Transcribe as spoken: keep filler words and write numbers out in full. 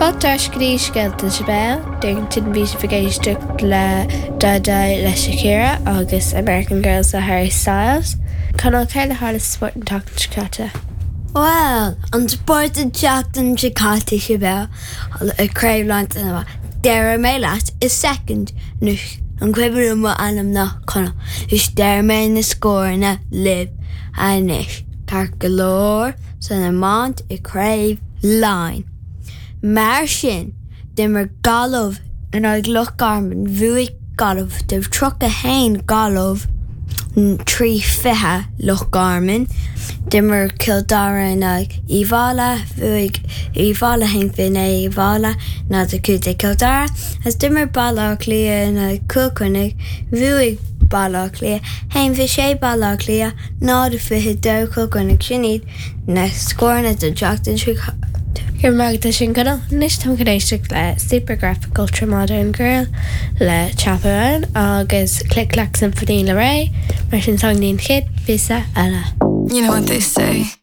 Fáilte ar ais go dtí Scéalta Sibéal, Darrington bhí sibh ag éisteacht le Dai Dai le Shakira agus American Girls le Harry Styles. Conall céard a tharla sa spórt an tseachtain seo caite. Well, an spórt an tseachtain seo caite Sibéal Craobh Laighean Déarfaidh mé leat i second anois an cuimhin mo ainm ná Conall is déarfaidh mé na scóranna libh anois ceart go leor san iomáint i Craobh Laighean. Mar sin d'imir Gaillimh in aghaidh Loch Garman bhuaigh Gaillimh de tríocha haon Gaillimh trí fiche Loch Garman. D'imir Cill Dara in aghaidh Uíbh Fhailí bhuaigh Uíbh Fhailí haon fiche naoi Uíbh Fhailí náid a cúig déag Cill Dara, agus d'imir Baile Átha Cliath in aghaidh Cill Chainnigh bhuaigh Baile Átha Cliath haon fiche sé Baile Átha Cliath náid fiche dó Cill Chainnigh sin iad na scóranna don tseachtain seo caite. Gur mag sin go anois táim chun éisteacht le Supergraphic Ultra Modern Girl le Chappell Roan agus Click Clack Symphony le Raye mar sin sang an chéad phíosa eile. You know what they say.